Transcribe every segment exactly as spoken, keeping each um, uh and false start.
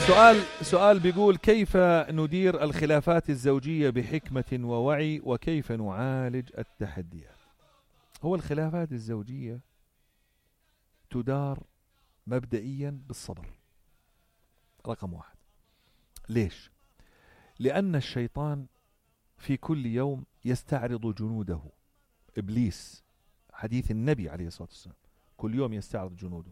سؤال سؤال بيقول: كيف ندير الخلافات الزوجية بحكمة ووعي، وكيف نعالج التحديات؟ هو الخلافات الزوجية تدار مبدئيا بالصبر، رقم واحد. ليش؟ لأن الشيطان في كل يوم يستعرض جنوده. إبليس، حديث النبي عليه الصلاة والسلام، كل يوم يستعرض جنوده.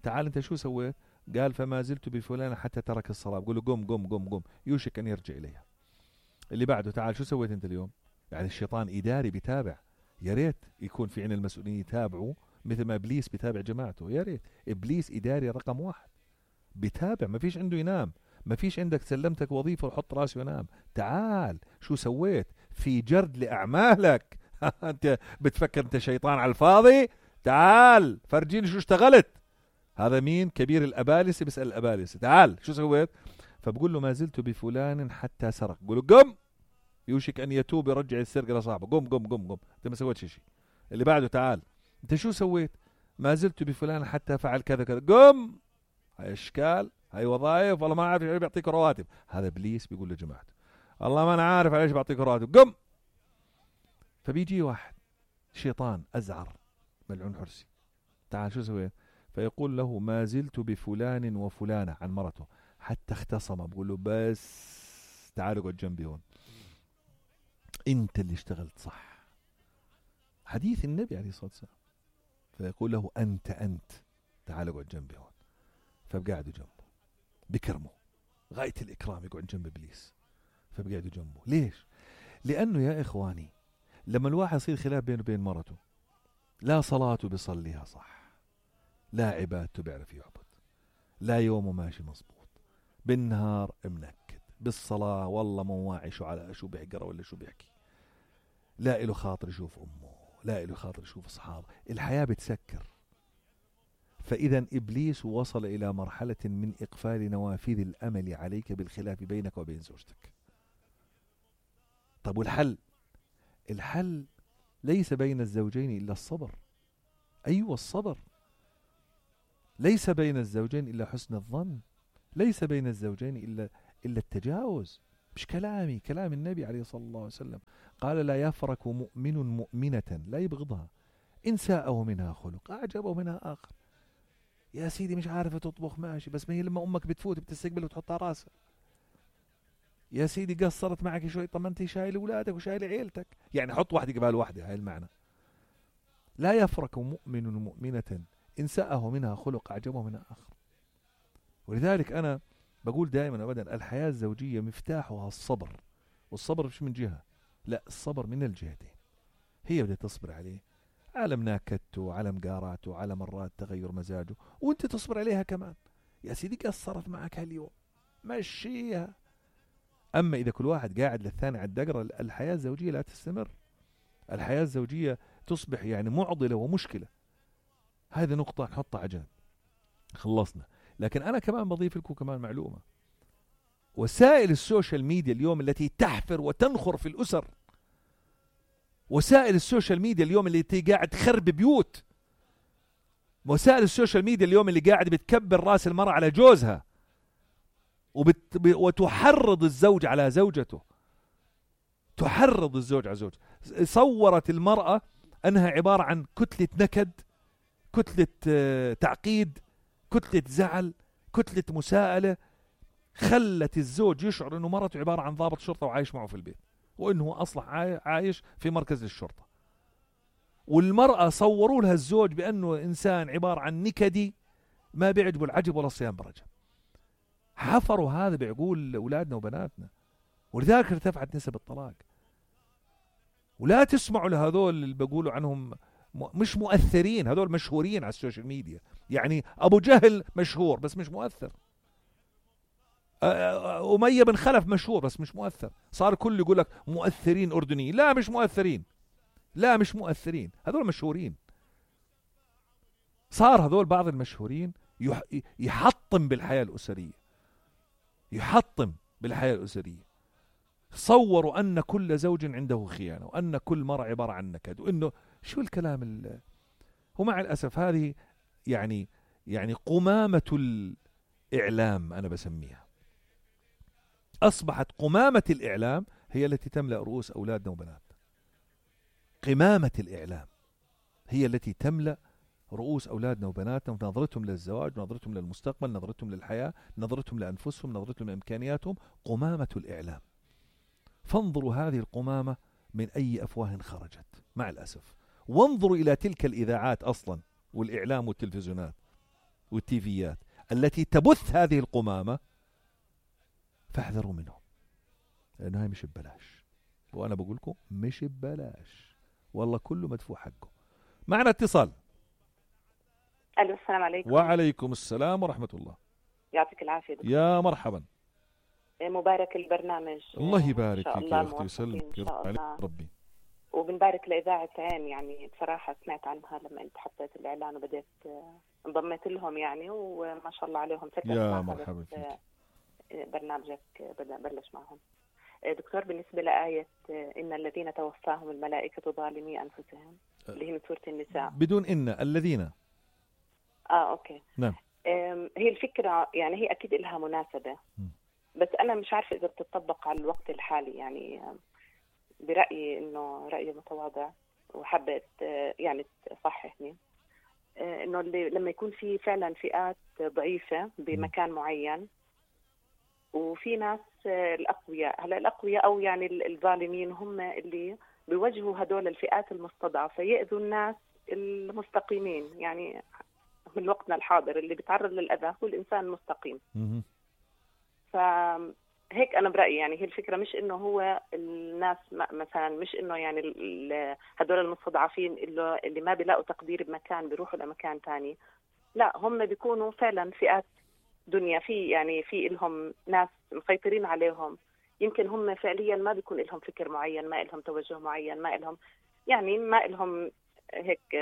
تعال أنت شو سويت؟ قال: فما زلت بفلان حتى ترك الصلاة. بقول له: قم قم قم قم، يوشك أن يرجع إليها. اللي بعده: تعال شو سويت أنت اليوم؟ يعني الشيطان إداري بيتابع. يا ريت يكون في عنا المسؤولين يتابعوا مثل ما إبليس بيتابع جماعته. يا ريت. إبليس إداري رقم واحد، بيتابع، ما فيش عنده ينام. ما فيش عندك سلمتك وظيفة وحط راسه ينام. تعال شو سويت؟ في جرد لأعمالك. أنت بتفكر أنت شيطان على الفاضي؟ تعال فرجيني شو اشتغلت. هذا مين؟ كبير الأبالسة بيسأل الأبالسة: تعال شو سويت؟ فبقول له: ما زلت بفلان حتى سرق. بقول له: قم، يوشك أن يتوب يرجع السرقة لصاحبه. قم قم قم قم، أنت ما سويت شيء. اللي بعده: تعال أنت شو سويت؟ ما زلت بفلان حتى فعل كذا كذا. قم، هاي اشكال، هاي وظائف، والله ما عارف بيعطيك رواتب. هذا ابليس بيقول لجماعته: الله ما انا عارف ليش بعطيك رواتب. قم. فبيجي واحد شيطان ازعر ملعون حرسي: تعال شو سويت؟ فيقول له: ما زلت بفلان وفلانة، عن مرته، حتى اختصم. بقول له: بس تعال اقعد جنبي هون، انت اللي اشتغلت صح. حديث النبي عليه الصلاة والسلام. فيقول له: انت انت تعال اقعد جنبي هون. فبقعدوا جنبه، بكرمه غاية الإكرام، يقعد جنب إبليس. فبقعدوا جنبه. ليش؟ لأنه يا إخواني، لما الواحد يصير خلاف بينه وبين مرته، لا صلاته بيصليها صح، لا عبادته بيعرف يعبد، لا يومه ماشي مظبوط، بالنهار منكد، بالصلاة والله مو واعي شو على شو بيقرأ ولا شو بيحكي، لا إله خاطر يشوف أمه، لا إله خاطر يشوف أصحابه، الحياة بتسكر. فإذا إبليس وصل إلى مرحلة من إقفال نوافذ الأمل عليك بالخلاف بينك وبين زوجتك. طب والحل؟ الحل ليس بين الزوجين إلا الصبر. أيوة الصبر. ليس بين الزوجين إلا حسن الظن. ليس بين الزوجين إلا إلا التجاوز. مش كلامي، كلام النبي عليه الصلاة الله وسلم. قال: لا يفرك مؤمن مؤمنة، لا يبغضها، إن ساءه منها خلق أعجبه منها آخر. يا سيدي مش عارفة تطبخ ماشي، بس ما هي لما أمك بتفوت بتستقبل وتحطها راسها. يا سيدي قصرت معك شوي، طب ما أنت شايل أولادك وشايل عيلتك، يعني حط واحدة قبال واحدة. هاي المعنى. لا يفرك مؤمن مؤمنة إن ساءه منها خلق أعجبه منها آخر. ولذلك أنا بقول دائما أبدا: الحياة الزوجية مفتاحها الصبر. والصبر مش من جهة، لا، الصبر من الجهتين. هي بدها تصبر عليه على مناكدته، على مقاراته، على مرات تغير مزاجه، وانت تصبر عليها كمان. يا سيدي قصرت معك هاليوم، مشيها. أما إذا كل واحد قاعد للثاني على الدقرة، الحياة الزوجية لا تستمر. الحياة الزوجية تصبح يعني معضلة ومشكلة. هذه نقطة نحطها عجان، خلصنا. لكن أنا كمان بضيف لكم كمان معلومة: وسائل السوشيال ميديا اليوم التي تحفر وتنخر في الأسر، وسائل السوشيال ميديا اليوم اللي قاعد تخرب بيوت، وسائل السوشيال ميديا اليوم اللي قاعد بتكبر راس المرأة على جوزها، وبت... وتحرض الزوج على زوجته، تحرض الزوج على زوجته. صورت المرأة أنها عبارة عن كتلة نكد، كتلة تعقيد، كتلة زعل، كتلة مساءلة. خلت الزوج يشعر أنه مرته عبارة عن ضابط شرطة وعايش معه في البيت، وأنه أصلا عايش في مركز الشرطة. والمرأة صوروا لها الزوج بأنه إنسان عبارة عن نكدي ما بيعجبه العجب ولا الصيام برجب. حفروا هذا بعقول أولادنا وبناتنا، ولذلك ارتفعت نسب الطلاق. ولا تسمعوا لهذول اللي بيقولوا عنهم مش مؤثرين، هذول مشهورين على السوشيال ميديا. يعني أبو جهل مشهور بس مش مؤثر، أمية بن خلف مشهور بس مش مؤثر. صار كل يقول لك مؤثرين أردنيين. لا مش مؤثرين، لا مش مؤثرين، هذول مشهورين. صار هذول بعض المشهورين يحطم بالحياة الأسرية، يحطم بالحياة الأسرية. صوروا أن كل زوج عنده خيانة، وأن كل مرة عبارة عن نكد، وإنه شو الكلام ال... ومع الأسف هذه يعني يعني قمامة إعلام أنا بسميها. أصبحت قمامة الإعلام هي التي تملأ رؤوس أولادنا وبناتنا. قمامة الإعلام هي التي تملأ رؤوس أولادنا وبناتنا، ونظرتهم للزواج، نظرتهم للمستقبل، نظرتهم للحياة، نظرتهم لأنفسهم، نظرتهم لإمكانياتهم. قمامة الإعلام. فانظروا هذه القمامة من أي أفواه خرجت مع الأسف. وانظروا إلى تلك الإذاعات أصلا والإعلام والتلفزيونات والتيفيات التي تبث هذه القمامة، فاحذروا منهم، لأنه هاي مش ببلاش. وأنا بقول لكم مش ببلاش، والله كله مدفوع حقه. معنا اتصال. الو السلام عليكم. وعليكم السلام ورحمة الله. يعطيك العافية دكتور. يا مرحبا. مبارك البرنامج. الله يبارك فيك يا أختي ويسلمك، يرضى عليك ربي. وبنبارك لإذاعة عين، يعني بصراحة سمعت عنها لما أنت حطيت الإعلان وبدأت انضميت لهم يعني، وما شاء الله عليهم. يا مرحبا فيك. برنامجك بدأ بلش معهم. دكتور، بالنسبة لآية إن الذين توفاهم الملائكة ظالمي أنفسهم اللي هي من سورة النساء، بدون إن الذين آه أوكي نعم. هي الفكرة يعني هي أكيد لها مناسبة، م. بس أنا مش عارفة إذا بتطبق على الوقت الحالي. يعني برأيي إنه رأيي متواضع وحبيت يعني تصححني، إنه اللي لما يكون في فعلا فئات ضعيفة بمكان معين، وفي ناس الأقوياء. هلا الأقوياء أو يعني الظالمين هم اللي بيوجهوا هدول الفئات المستضعفة يأذوا الناس المستقيمين. يعني من وقتنا الحاضر اللي بيتعرض للأذى هو الإنسان المستقيم. فهيك أنا برأيي يعني هي الفكرة، مش إنه هو الناس مثلا، مش إنه يعني هدول المستضعفين اللي, اللي ما بيلاقوا تقدير بمكان بيروحوا لمكان تاني. لا، هم بيكونوا فعلا فئات دنيا، في يعني في لهم ناس مسيطرين عليهم. يمكن هم فعليا ما بيكون لهم فكر معين، ما لهم توجه معين، ما لهم يعني ما لهم هيك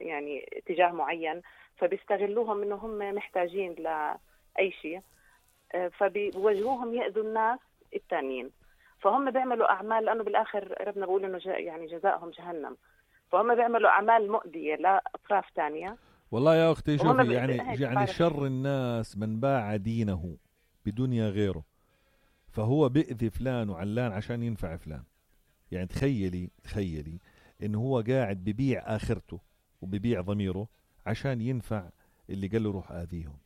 يعني اتجاه معين، فبيستغلوهم انه هم محتاجين لأي شيء، فبيوجهوهم يأذوا الناس التانيين. فهم بيعملوا أعمال، لأنه بالآخر ربنا بيقول إنه يعني جزاءهم جهنم. فهم بيعملوا أعمال مؤذية لأطراف تانية. والله يا أختي شوفي، يعني يعني شر الناس من باع دينه بدنيا غيره، فهو بيأذي فلان وعلان عشان ينفع فلان. يعني تخيلي تخيلي إنه هو قاعد ببيع آخرته وببيع ضميره عشان ينفع اللي قال له روح آذيهم.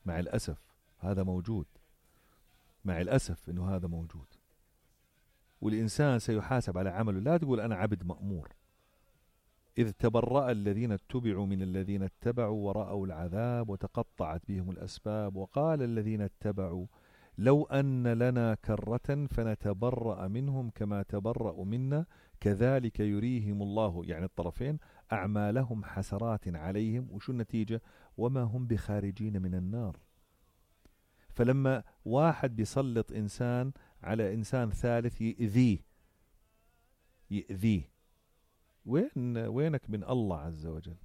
مع الأسف هذا موجود، مع الأسف إنه هذا موجود. والإنسان سيحاسب على عمله. لا تقول أنا عبد مأمور. إذ تبرأ الذين اتبعوا من الذين اتبعوا ورأوا العذاب وتقطعت بهم الأسباب وقال الذين اتبعوا لو أن لنا كرة فنتبرأ منهم كما تبرأوا منا كذلك يريهم الله، يعني الطرفين، أعمالهم حسرات عليهم. وشو النتيجة؟ وما هم بخارجين من النار. فلما واحد بيسلط إنسان على إنسان ثالث يؤذيه يؤذيه وين وينك من الله عز وجل؟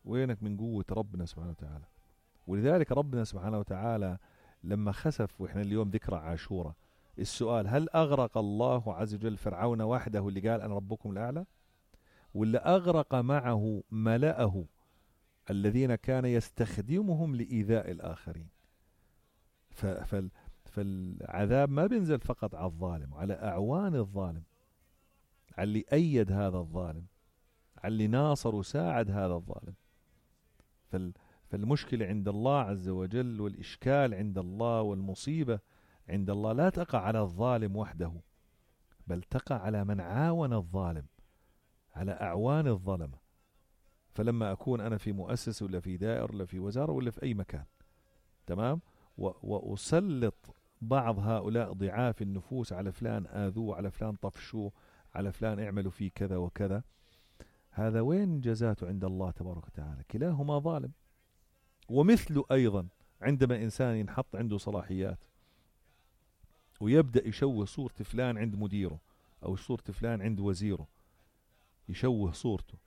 وينك من قوة ربنا سبحانه وتعالى؟ ولذلك ربنا سبحانه وتعالى لما خسف، وإحنا اليوم ذكرى عاشوراء، السؤال هل أغرق الله عز وجل فرعون وحده اللي قال أنا ربكم الأعلى، ولا أغرق معه ملأه الذين كان يستخدمهم لإيذاء الآخرين؟ فالعذاب ما بينزل فقط على الظالم، على أعوان الظالم، على اللي أيد هذا الظالم، على اللي ناصر وساعد هذا الظالم. فالمشكلة عند الله عز وجل، والإشكال عند الله، والمصيبة عند الله لا تقع على الظالم وحده، بل تقع على من عاون الظالم، على أعوان الظلمة. فلما أكون أنا في مؤسسة ولا في دائرة ولا في وزارة ولا في أي مكان، تمام، وأسلط بعض هؤلاء ضعاف النفوس على فلان آذوه، على فلان طفشوه، على فلان اعملوا فيه كذا وكذا، هذا وين جزاته عند الله تبارك وتعالى؟ كلاهما ظالم. ومثله أيضا عندما إنسان ينحط عنده صلاحيات ويبدأ يشوه صورة فلان عند مديره أو صورة فلان عند وزيره، يشوه صورته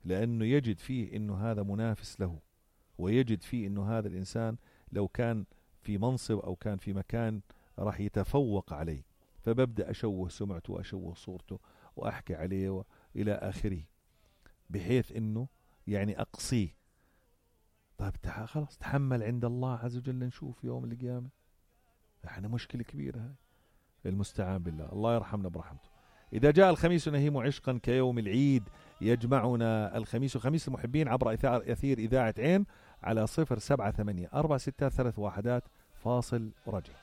لأنه يجد فيه إنه هذا منافس له، ويجد فيه إنه هذا الإنسان لو كان في منصب أو كان في مكان راح يتفوق عليه، فببدأ أشوه سمعته وأشوه صورته وأحكي عليه إلى آخره، بحيث إنه يعني أقصيه. طيب تح... خلاص تحمل عند الله عز وجل نشوف يوم القيامة. احنا مشكلة كبيرة هاي. المستعان بالله، الله يرحمنا برحمته. إذا جاء الخميس نهيم عشقا كيوم العيد يجمعنا الخميس. خميس المحبين عبر أثير إذاعة عين على صفر سبعة ثمانية أربعة ستة ثلاث واحدات فاصل ورجع.